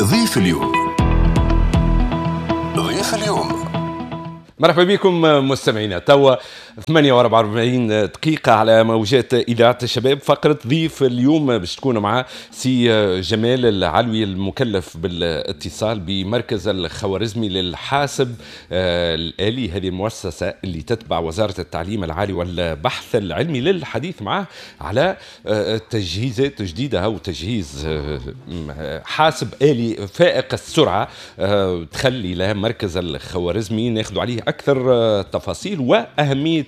ضيف اليوم. ضيف اليوم. مرحبا بكم مستمعينا، توا 48 دقيقة على موجات إذاعة الشباب. فقرة ضيف اليوم باش تكون مع سي جمال العلوي المكلف بالاتصال بمركز الخوارزمي للحاسب الآلي، هذه المؤسسة اللي تتبع وزارة التعليم العالي والبحث العلمي، للحديث معه على تجهيزات جديدة أو تجهيز حاسب آلي فائق السرعة تخلي له مركز الخوارزمي، ناخذ عليه أكثر تفاصيل وأهمية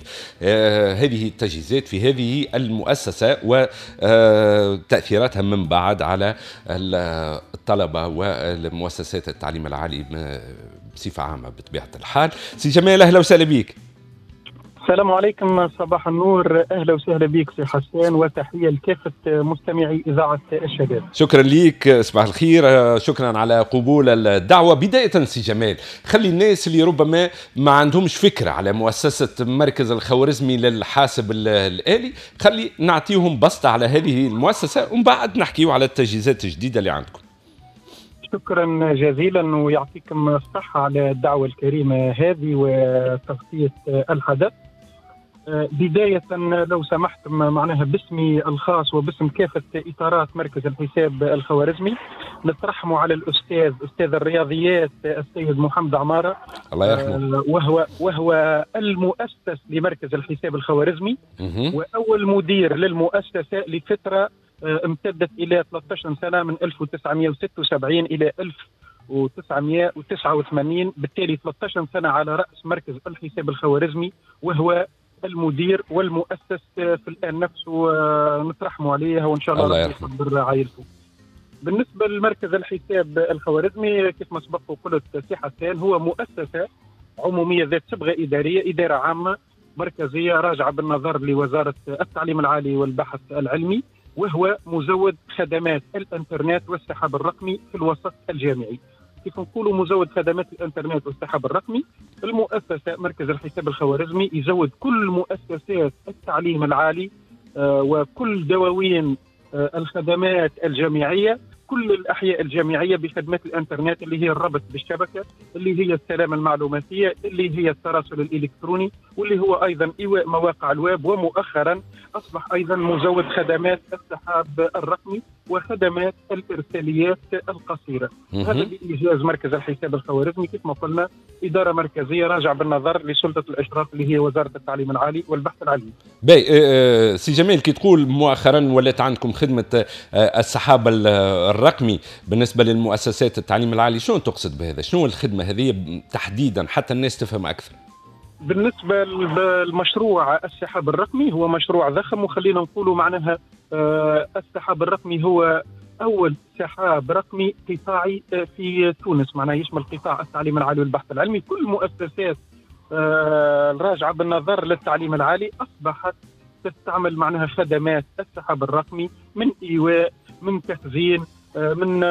هذه التجهيزات في هذه المؤسسة وتأثيراتها من بعد على الطلبة والمؤسسات التعليم العالي بصفة عامة بطبيعة الحال. سي جمال، أهلا وسهلا بك. السلام عليكم، صباح النور، اهلا وسهلا بك سي حسان، وتحية لكافة مستمعي اذاعة الشباب. شكرا ليك، صباح الخير، شكرا على قبول الدعوة. بداية سي جمال، خلي الناس اللي ربما ما عندهمش فكرة على مؤسسة مركز الخوارزمي للحاسب الآلي، خلي نعطيهم بسطه على هذه المؤسسة ومن بعد نحكيو على التجهيزات الجديدة اللي عندكم. شكرا جزيلا ويعطيكم الصحة على الدعوة الكريمة هذه وتغطيه الحدث. بداية لو سمحتم معناها باسمي الخاص وباسم كافة إطارات مركز الحساب الخوارزمي نترحم على الأستاذ أستاذ الرياضيات السيد محمد عمارة، الله يرحمه، وهو المؤسس لمركز الحساب الخوارزمي وأول مدير للمؤسسة لفترة امتدت إلى 13 سنة من 1976 إلى 1989، بالتالي 13 سنة على رأس مركز الحساب الخوارزمي وهو المدير والمؤسس في الآن نفسه، نترحموا عليه وإن شاء الله ربي يصبر عائلته. بالنسبة لمركز الحساب الخوارزمي كيف ما سبق وقلت سي حسان، هو مؤسسة عمومية ذات صبغة إدارية، إدارة عامة مركزية راجعة بالنظر لوزارة التعليم العالي والبحث العلمي، وهو مزود خدمات الإنترنت والسحاب الرقمي في الوسط الجامعي. كيف نقولوا مزود خدمات الانترنت والسحاب الرقمي، المؤسسة مركز الحساب الخوارزمي يزود كل مؤسسات التعليم العالي وكل دواوين الخدمات الجامعية، كل الاحياء الجامعية بخدمات الانترنت اللي هي الربط بالشبكه، اللي هي السلامة المعلوماتيه، اللي هي التراسل الالكتروني، واللي هو ايضا ايواء مواقع الويب، ومؤخرا اصبح ايضا مزود خدمات السحاب الرقمي وخدمات الارساليات القصيرة. هذا بايجاز مركز الحساب الخوارزمي كيف ما قلنا ادارة مركزية راجع بالنظر لسلطه الاشراف اللي هي وزارة التعليم العالي والبحث العلمي. باهي سي جمال، كي تقول مؤخرا ولات عندكم خدمة السحاب الرقمي بالنسبة للمؤسسات التعليم العالي، شنو تقصد بهذا؟ شنو الخدمة هذه تحديدا حتى الناس تفهم اكثر؟ بالنسبة للمشروع السحاب الرقمي هو مشروع ضخم، وخلينا نقولوا معناها السحاب الرقمي هو أول سحاب رقمي قطاعي في تونس، معناها يشمل قطاع التعليم العالي والبحث العلمي. كل مؤسسات الراجعة بالنظر للتعليم العالي أصبحت تستعمل معناها خدمات السحاب الرقمي من إيواء، من تخزين، من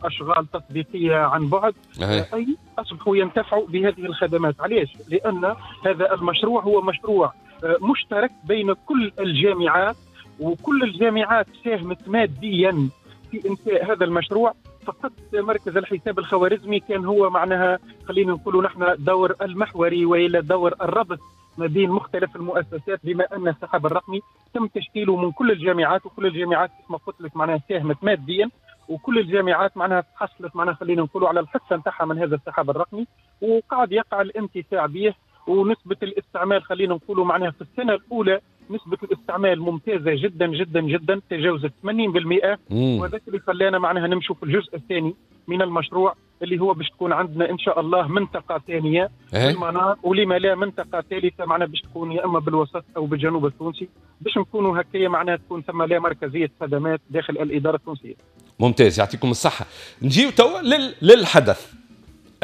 أشغال تطبيقية عن بعد، أي أصبحوا ينتفعوا بهذه الخدمات. علاش؟ لأن هذا المشروع هو مشروع مشترك بين كل الجامعات، وكل الجامعات ساهمت ماديا في إنشاء هذا المشروع. فقط مركز الحساب الخوارزمي كان هو معناها خلينا نقولوا نحن دور المحوري وإلى دور الربط ما بين مختلف المؤسسات، بما أن السحاب الرقمي تم تشكيله من كل الجامعات، وكل الجامعات كما قلت لك معناها ساهمت ماديا، وكل الجامعات معناها تحصلت معناها خلينا نقولوا على الحصة نتاعها من هذا السحاب الرقمي، وقاعد يقع الانتفاع به. ونسبه الاستعمال خلينا نقولوا معناها في السنة الاولى نسبه الاستعمال ممتازة جدا جدا جدا، تجاوزت 80%، وهذا اللي خلانا معناها نمشوا في الجزء الثاني من المشروع اللي هو باش تكون عندنا ان شاء الله منطقة ثانية في المنار، ولما لا منطقة ثالثة معناها باش تكون يا اما بالوسط او بالجنوب التونسي، باش نكونوا هكايا معناها تكون ثم لا مركزية خدمات داخل الادارة التونسية. ممتاز، يعطيكم الصحة. نجيو توا للحدث،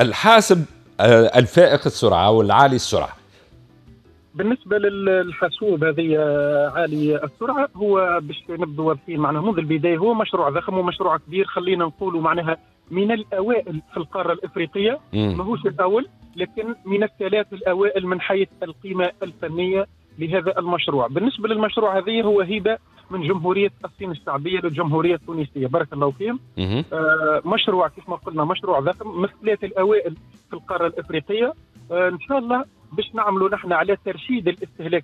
الحاسب الفائق السرعة والعالي السرعة. بالنسبة للحاسوب هذه عالي السرعة، هو باش نبدو واضحين معناها منذ البداية هو مشروع ضخم ومشروع كبير، خلينا نقولوا معناها من الأوائل في القارة الإفريقية، ماهوش الأول لكن من الثلاث الأوائل من حيث القيمة الفنية لهذا المشروع. بالنسبة للمشروع هذا هو هبه من جمهورية الصين الشعبية للجمهورية التونسيه، بارك الله فيهم. مشروع كيف ما قلنا مشروع ضخم، من الثلاثة الاوائل في القارة الافريقيه. ان شاء الله باش نعملوا نحن على ترشيد الاستهلاك.